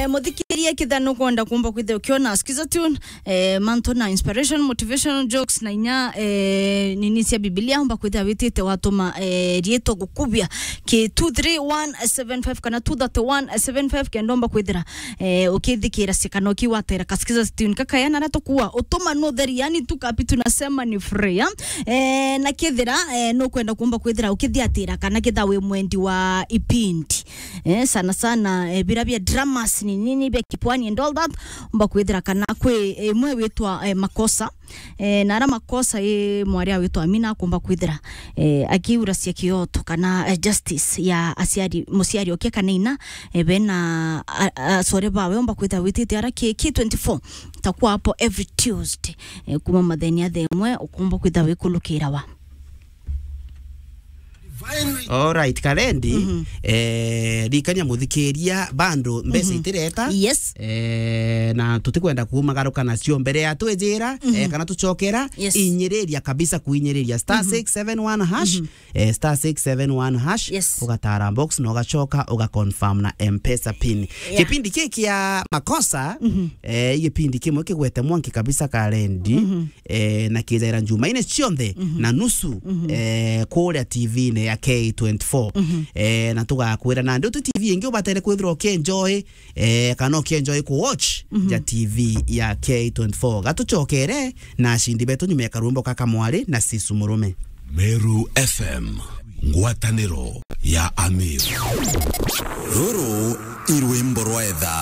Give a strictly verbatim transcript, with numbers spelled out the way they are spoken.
Eh, muthikiria, kethira nukwenda kumba kwithira ukiona Skiza Tune, eh, mantu na inspiration, motivational jokes na inya, eh, nini cia Biblia, umba kwithira witite watuma, eh, riitwa gukubia ki two three one seven five kana two thirty one seven five, kenda umba kwithira, eh, ukithikira ciakano kiu watera ka Skiza Tune kakaya na ratu kuwa utuma nutheri, yani tu kapi tunasema ni free, ya? Eh, na kethira, eh, nukwenda kumba kwithira ukithiatira kana kethira wi mwendi wa ipindi, eh, sana sana, eh, bira bia dramas ni nini bia kipwani and all that, umba kwithira kana kwi imwe witwa, eh, Makosa. Eh, na ara Makosa i mwari awitwa Amina akumba kwithira, eh, akiuracia kioto kana, eh, justice ya aciari, muciari okia kana ina, eh, bena a, a, acore bawe, umba kwithira witite ara ki, ki twenty-four, takuwa hapo every Tuesday, eh, kuma matheni a thaa imwe, ukumba kwithira wikulukira wa. Alright, Kalendi, eh, ririkania muthikiria, bando mbeca itireta. Yes. Eh, na tutikwenda kumagaruka nacio mbere ya twijira, eh, kana tucokera, Yes. inyiriria kabisa kuinyiriria star six seven one hash, eh, star six seven one hash, Yes. ugatara box na ugacoka ugaconfirm na M-Pesa pin. Yeah. Kipindi kiki kia Makosa, eh, gipindi kimwe kigwete mwanki kabisa, Kalendi. Eh, na kijaira njumaine cionthe na nusu, eh, kuria T V-ini ya K twenty-four. Eh, na tugakwira nandi uti T V ingi ubatere kwithirwa ukienjoy, eh, kana ukienjoy ku watch ja T V ya K twenty-four. Gatucokere na acindi betu nyuma ya karwimbo ka Kamwari na Sisu Murume. Meru F M, ngwataniro ya Amir. Ruru i rwimbo rwa etha.